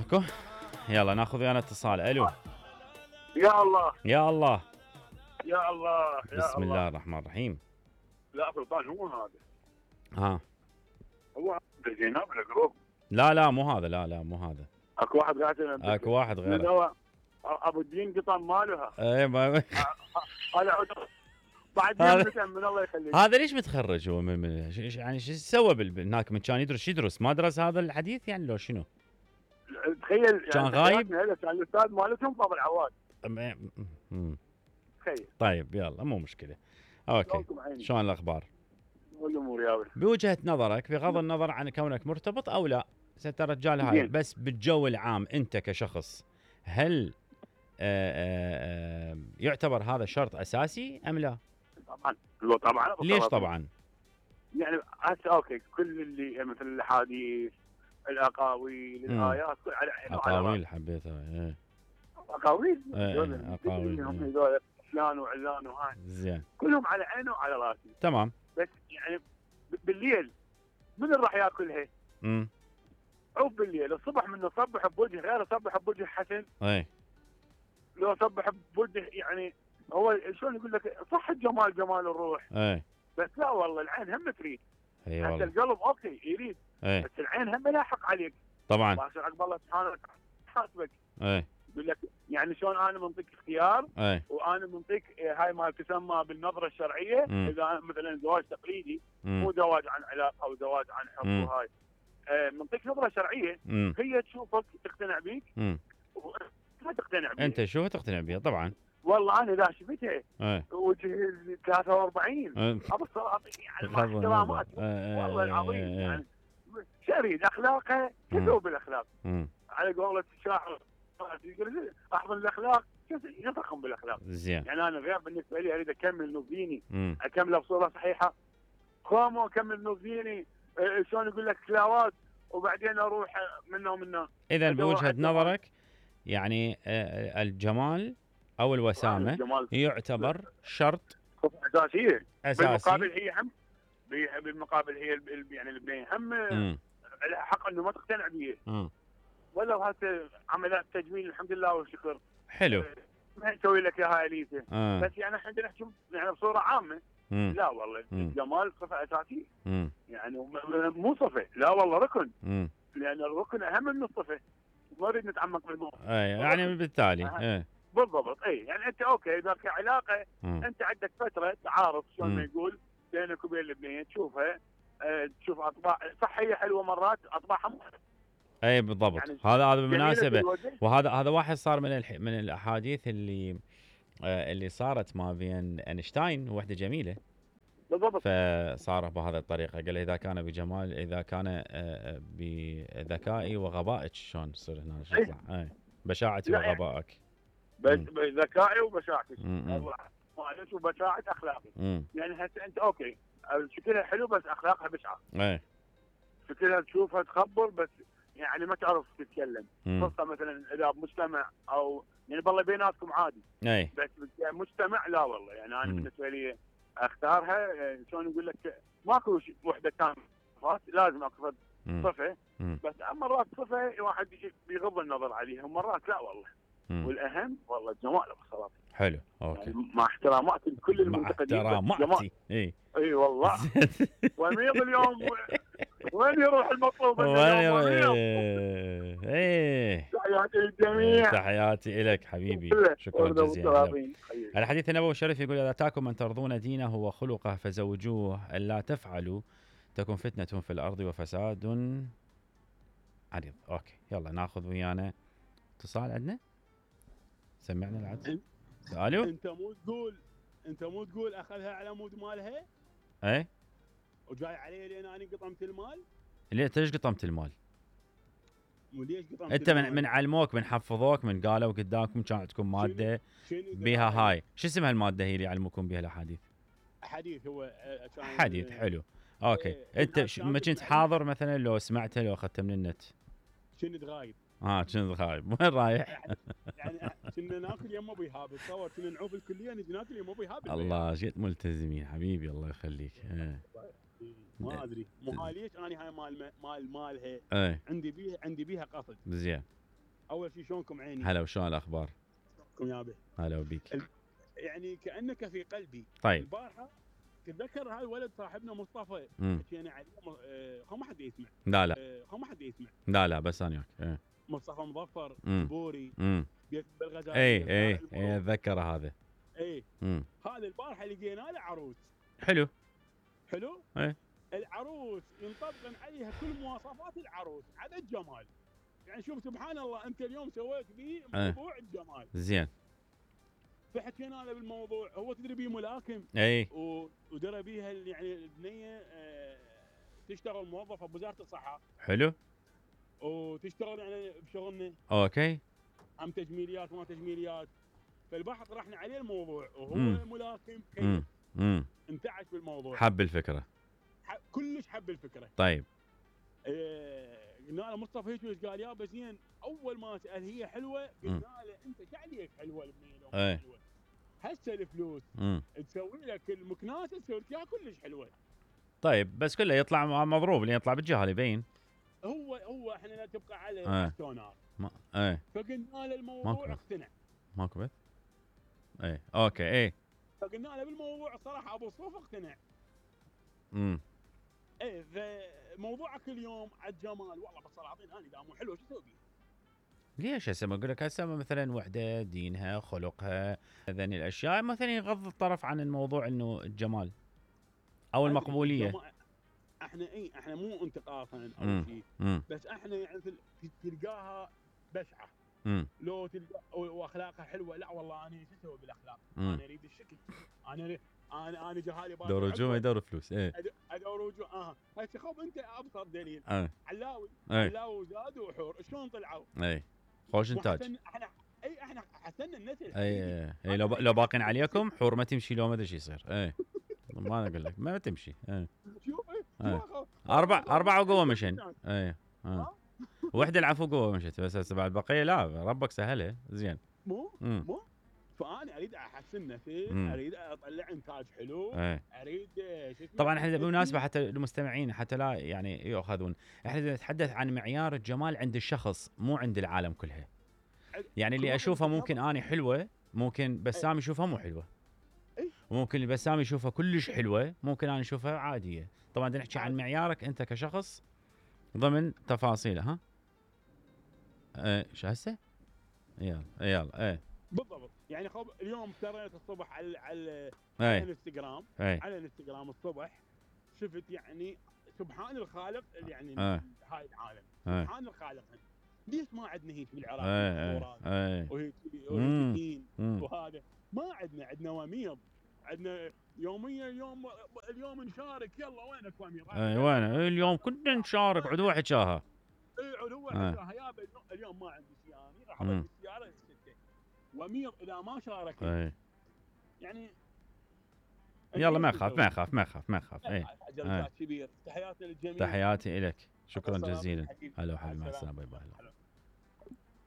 اكو. يلا ناخذ ويانا اتصال. الو. يا الله يا الله. يا الله يا بسم الله. الله الرحمن الرحيم. لا سلطان هو هذا. ها هو زينب الجروب. لا مو هذا. لا مو هذا. اكو واحد قاعد اكو واحد من غيره. هو ابو الدين قطن مالها. اي ما هذا بعد من الله يخليك. هذا ليش متخرج هو من يعني شو سوى هناك من كان يدرس ما درس هذا الحديث يعني لو شنو؟ تخيل كان غايب؟ كان الاستاذ مالتهم فاضل عواد. تخيل. طيب يلا مو مشكله. اوكي. شلون الاخبار؟ والامور يا ولد. بوجهه نظرك بغض النظر عن كونك مرتبط او لا، انت رجال هاي بس بالجو العام انت كشخص هل يعتبر هذا شرط اساسي ام لا؟ طبعا. ليش طبعا؟ يعني هسه اوكي كل اللي مثل الاحاديث الاقاويل الايات كل على عينه اقاويل حبيتها. ايه اقاويل اقاويل هم هذول فلان وعلان وهاي زين كلهم على عينه وعلى راسي. تمام. بس يعني بالليل من راح ياكلها؟ عوف بالليل. الصبح منه صبح بوجه غير صبح بوجه حسن. اي لو صبح بوجه يعني هو شلون يقول لك صح الجمال جمال الروح. اي بس لا والله العين هم تريد. اي حتى القلب اوكي يريد. بس العين هم لاحق عليك. طبعا. باشر عقب الله سبحانه وتعالى حاسبك. اي يقول لك يعني شلون انا منطيك اختيار وانا منطيك هاي ما تسمى بالنظره الشرعيه. اذا مثلا زواج تقليدي مو زواج عن علاقه او زواج عن حب وهاي منطيك نظره شرعيه. هي تشوفك تقتنع بيك ما تقتنع بيها. انت شو تقتنع بيها طبعا. والله انا اذا شفتها وجه 43 ابو الصراط يعني مع احتراماتي والله العظيم يعني شريد اخلاقها كذوب الاخلاق على قولة الشاعر احضن الاخلاق يضخم بالاخلاق. زين. يعني انا غير بالنسبه لي اريد اكمل نوفيني اكمله بصوره صحيحه كومو اكمل نوفيني شلون يقول لك تلاوات وبعدين اروح منه. اذا بوجهه نظرك يعني الجمال او الوسامه يعتبر شرط اساسيه. اساسي. بالمقابل هي هم بالمقابل هي يعني البنيه هم حق انه ما تقتنع به. ولو هسه عمليات تجميل الحمد لله والشكر حلو ما تسوي لك اياها اليسه. بس يعني احنا نحكي يعني بصوره عامه. لا والله الجمال صفه اساسيه. يعني مو صفه لا والله ركن. لان الركن اهم من الصفه. ما نريد نتعمق بالموضوع. يعني بالتالي بالضبط. يعني انت اوكي اذا في علاقه انت عندك فتره تعارف شلون ما يقول بينك وبين البنيه تشوفها تشوف اطباع صحيه حلوه مرات اطباعها اي بالضبط. يعني هذا بالمناسبه وهذا واحد صار من الاحاديث اللي صارت ما بين اينشتاين ووحده جميله. بالضبط. فصار بهذه الطريقه قال اذا كان بجمال اذا كان بذكائي وغبائك شلون تصير هنا شو صح. بشاعتي وغبائك. ذكائي وبشاعتك. معلش وبشاعه اخلاقي. يعني هسه انت اوكي شكلها حلو بس اخلاقها بشعه. شكلها تشوفها تخبر بس يعني ما تعرف تتكلم. خاصه مثلا اذا بمجتمع او يعني بالله بيناتكم عادي. بس مجتمع لا والله يعني انا بالنسبه لي اختارها شلون يقول لك ماكو وحده كامله لازم اكو صفه. بس مرات صفه واحد بيغض النظر عليها ومرات لا والله. والاهم والله الجمال بصراحه. حلو اوكي. يعني مع احتراماتي لكل المنتقدين. مع احتراماتي. اي والله. وميض اليوم وين يروح المطلوب تحياتي للجميع. تحياتي لك حبيبي. شكرا جزيلا. الحديث النبوي الشريف يقول اذا اتاكم من ترضون دينه وخلقه فزوجوه الا تفعلوا تكن فتنه في الارض وفساد عريض. اوكي يلا ناخذ ويانا اتصال. عندنا سمعنا العدس. الو. انت مو تقول اخذها على مود مالها وجاي علي لين انا قطمت المال. ليش ليش قطمت المال؟ وليش قطمت انت من علموك من حفظوك من قالوا قدامكم كان عندكم ماده بها هاي شو اسمها الماده هي اللي يعلموكم بها الاحاديث؟ حديث هو حديث. حلو اوكي. انت ما كنت حاضر مثلا لو سمعتها لو اخذتها من النت؟ كنت غايب. كنت غايب. وين رايح؟ يعني كنا ناكل يم ابو ايهاب تصور كنا نعوف الكليه نجي ناكل يم ابو ايهاب. الله جيت ملتزمين حبيبي الله يخليك. ما ادري مو هاي ليش انا هاي مالها عندي بيها قصد. زين. اول شيء شلونكم عيني؟ هلا وشلون الاخبار؟ شلونكم يابا؟ هلا وبيك. يعني كانك في قلبي. طيب البارحه تتذكر هاي الولد صاحبنا مصطفى حكينا عليه خو ما حد يسمع. لا خو ما حد يسمع. لا بس انا وياك. مصطفى مظفر بوري بيت بالغزال. اي اتذكر هذا. اي هذا البارحه لقينا له عروس. حلو. اي العروس ينطبق عليها كل مواصفات العروس عدا الجمال. يعني شوف سبحان الله انت اليوم سويت بيه موضوع الجمال. زين. فحكينا له بالموضوع. هو تدري بيه ملاكم. اي ودرى بيها يعني البنيه تشتغل موظفه بوزاره الصحه. حلو. وتشتغل يعني بشغلنا. اوكي. عم تجميليات وما تجميليات. فالبحث طرحنا عليه الموضوع وهو ملاكم كيف انتعش بالموضوع. حب الفكره. كلش حب الفكره. طيب. قلنا له مصطفى هيك وش قال؟ يابا زين اول ما سال هي حلوه قلنا له انت شو عليك حلوه البنيه لو مو حلوه؟ هسه الفلوس تسوي لك المكناسه تسوي لك اياها كلش حلوه. طيب بس كله يطلع مضروب اللي يطلع بالجهه يبين. هو احنا لا تبقى على التونار. فقلنا له الموضوع اقتنع. ماكو بث؟ اوكي. فقلنا له بالموضوع صراحه ابو صوف اقتنع. فموضوعك اليوم على الجمال والله بالصلاطين انا اذا مو حلو شو اسوي بيه؟ ليش هسه ما اقول لك هسه مثلا وحده دينها خلقها هذني الاشياء مثلا يغض الطرف عن الموضوع انه الجمال او المقبوليه. احنا مو انتقاصا او شيء بس احنا يعني تلقاها بشعه. لو تلقى واخلاقها حلوه لا والله انا شو اسوي بالاخلاق؟ انا اريد الشكل. انا جهالي دور رجوع ما يدور فلوس. ادور رجوع. هسه خب انت ابسط دليل. علاوي زاد وحور شلون طلعوا؟ خوش انتاج. احنا حسنا النسل. اي لو باقين عليكم حور ما تمشي لو ما ادري شو يصير. ما اقول لك ما تمشي. شوف اربع وقوه مشن. وحده العفو قوه مشت بس هسه بعد بقيه لا ربك سهلها زين. مو فانا اريد احسن نفسي. اريد اطلع انتاج حلو. اريد طبعا احنا بالمناسبه حتى المستمعين حتى لا يعني ياخذون احنا نتحدث عن معيار الجمال عند الشخص مو عند العالم كلها. يعني اللي اشوفها ممكن اني حلوه ممكن بسام يشوفها مو حلوه. وممكن اللي بسام يشوفها كلش حلوه ممكن انا اشوفها عاديه. طبعا بدنا نحكي عن معيارك انت كشخص ضمن تفاصيله. شو هسه؟ يلا بالضبط. يعني خب اليوم تريت الصبح على الانستغرام. على الانستغرام الصبح شفت يعني سبحان الخالق يعني هاي العالم. سبحان الخالق. ليش ما عندنا هيك بالعراق؟ وهيك وهذا ما عندنا وميض. عندنا يوميا اليوم نشارك. يلا وينك وميض؟ وين اليوم كنا نشارك عدوه حكاها. عدوه حكاها يابا اليوم ما عندي سياره راح اودي السياره السته. وميض اذا ما شارك يعني يلا ما يخاف. كبير. تحياتي للجميع. تحياتي لك. شكرا جزيلا. هلا وحبيبي مع السلامه. باي باي.